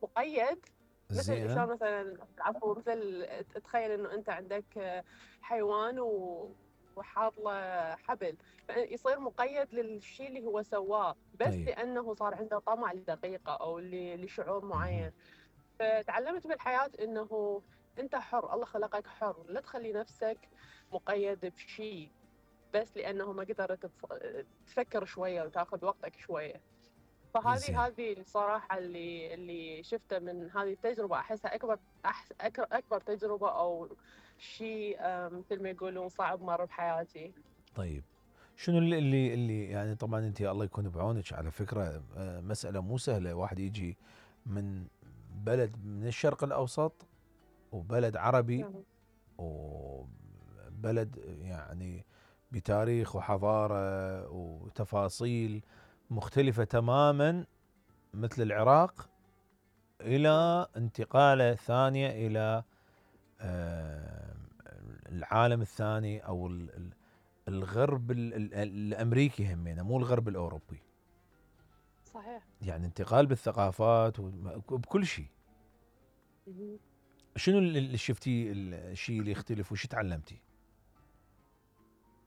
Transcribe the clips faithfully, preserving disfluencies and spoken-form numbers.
مقيد، مثل زين. شلون مثلا عفوا مثل تخيل انه انت عندك حيوان و وحاط له حبل، فيصير مقيد للشيء اللي هو سواه بس طيب. لانه صار عنده طمع لدقيقه او ل- لشعور مهم. معين. فتعلمت بالحياه انه انت حر، الله خلقك حر، لا تخلي نفسك مقيد بشيء بس لانه ما قدرت تف- تفكر شويه وتاخذ وقتك شويه. زين. فهذه هذه الصراحة اللي اللي شفته من هذه التجربة، أحسها أكبر أحس أكبر, أكبر تجربة أو شيء مثل ما يقولون صعب مر بحياتي. طيب، شنو اللي اللي اللي يعني طبعا انت الله يكون بعونك على فكره، آه، مساله مو سهله واحد يجي من بلد من الشرق الاوسط وبلد عربي نعم. وبلد يعني بتاريخ وحضاره وتفاصيل مختلفه تماما مثل العراق، نعم. الى انتقاله ثانيه الى آه، العالم الثاني او ال- ال- الغرب ال- ال- الامريكي همينه مو الغرب الاوروبي. صحيح. يعني انتقال بالثقافات وبكل شيء. مهم. شنو اللي شفتيه الشيء اللي يختلف وش تعلمتي؟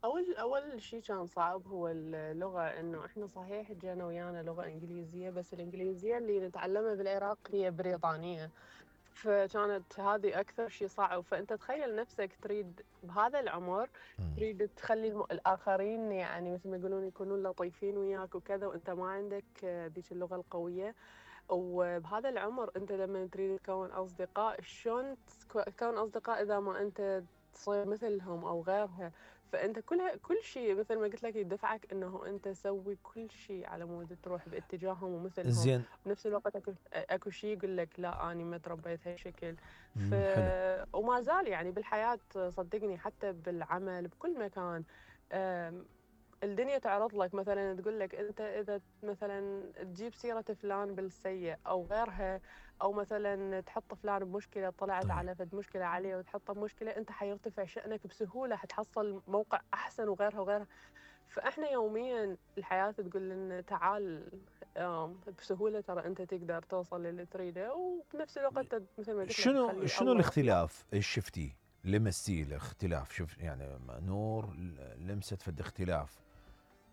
أول أول شيء كان صعب هو اللغة، إنه إحنا صحيح جانا ويانا لغة إنجليزية بس الإنجليزية اللي نتعلمها بالعراق هي بريطانية، فكانت هذه أكثر شيء صعب. فأنت تخيل نفسك تريد بهذا العمر مم. تريد تخلي الم... الآخرين يعني مثل ما يقولون يكونون لطيفين وياك وكذا، وأنت ما عندك ذيك اللغة القوية. وبهذا العمر أنت لما تريد تكون أصدقاء، شلون تكو- تكون أصدقاء إذا ما أنت تصير مثلهم أو غيرها؟ فأنت كل كل شيء مثل ما قلت لك يدفعك إنه أنت تسوي كل شيء على مود تروح باتجاههم ومثلهم. زين. بنفس الوقت اكو اكو شيء يقول لك لا انا ما تربيت هالشكل. ف مم. حلو. وما زال يعني بالحياه صدقني حتى بالعمل بكل مكان، أم، الدنيا تعرض لك مثلا تقول لك انت اذا مثلا تجيب سيره فلان بالسيء او غيرها، او مثلا تحط فلان بمشكله طلعت طيب. على فد مشكله عليه وتحطه بمشكله، انت حيرتفع شانك بسهوله، حتحصل موقع احسن وغيرها وغيرها. فاحنا يوميا الحياه تقول لنا تعال، آم، بسهوله ترى انت تقدر توصل للي تريده، وبنفس الوقت مثل ما قلت لك شنو تخلي شنو الله الله. الاختلاف ايش شفتيه؟ لمستيه الاختلاف؟ شوف يعني نور لمست فد اختلاف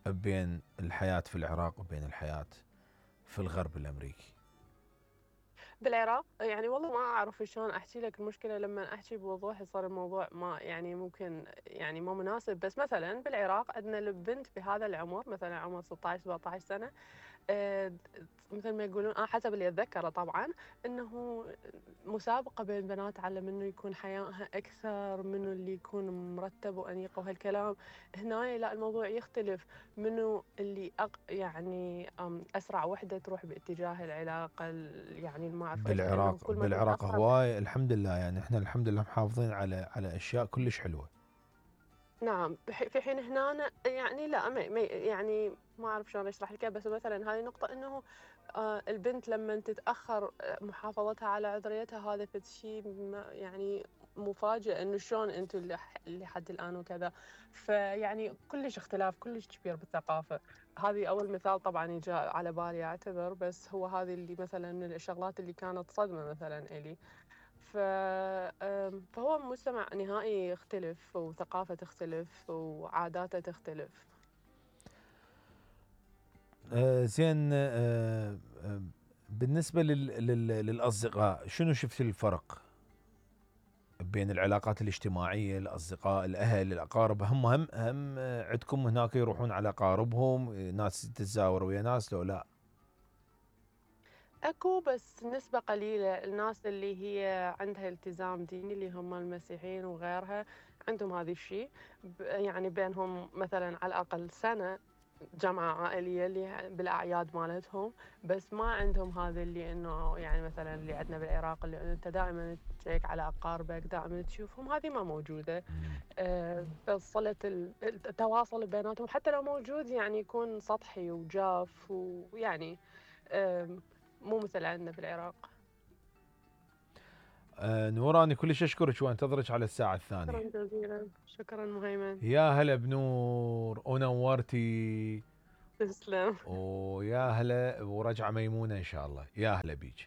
بين الحياة في العراق وبين الحياة في الغرب الامريكي. بالعراق يعني والله ما اعرف شلون احكي لك المشكله، لما احكي بوضوح يصير الموضوع ما يعني ممكن يعني مو مناسب. بس مثلا بالعراق عندنا البنت بهذا العمر مثلا عمر ستة عشر سبعة عشر سنه، آه، مثل ما يقولون اه حسب اللي اتذكره طبعا، انه مسابقه بين البنات على منو يكون حيائها اكثر، منو اللي يكون مرتب وانيق وهالكلام. هنا لا الموضوع يختلف، منو اللي أق يعني أم اسرع وحده تروح باتجاه العلاقه يعني ما اعرف ايش، لانه بالعراق كل ما بالعراق تتاخر. هواي الحمد لله، يعني احنا الحمد لله محافظين على على اشياء كلش حلوة. نعم. بح- في حين هنا أنا يعني لا ما ما- يعني ما اعرف شلون اشرح لك، بس مثلا هذه نقطه انه آه، البنت لما تتاخر آه، محافظتها على عذريتها، هذا فد شيء ما- يعني مفاجئ انه شلون انتم اللي لحد الان وكذا. فيعني كلش اختلاف كلش كبير بالثقافه. هذه اول مثال طبعا يجي على بالي اعتذر، بس هو هذه اللي مثلا من الشغلات اللي كانت صدمه مثلا الي. ف... آم، فهو مجتمع نهائي يختلف وثقافة تختلف وعاداته تختلف. آه زين. آه آه بالنسبة لل لل للأصدقاء شنو شفت الفرق بين العلاقات الاجتماعية، الأصدقاء، الأهل، الأقارب؟ هم هم هم آه، عندكم هناك يروحون على أقاربهم، آه، ناس تتزاور ويا ناس لو لا؟ اكو بس نسبة قليلة الناس اللي هي عندها التزام ديني اللي هم المسيحيين وغيرها، عندهم هذا الشيء. ب- يعني بينهم مثلا على الأقل سنة جمعة عائلية اللي بالأعياد مالتهم، بس ما عندهم هذا اللي إنه يعني مثلا اللي عندنا بالعراق اللي أنت دائما تشيك على أقاربك دائما تشوفهم، هذه ما موجودة. مم. آه، فصلة ال- التواصل بيناتهم حتى لو موجود يعني يكون سطحي وجاف ويعني آم، مو مثل عندنا بالعراق. آه نوراني كلش أشكرك وأنتظرك على الساعة شكرا الثانية. جزيلا. شكرا مهيمن. يا هلا بنور ونورتي. تسلم. ويا هلا ورجعة ميمونة إن شاء الله. يا هلا بيج.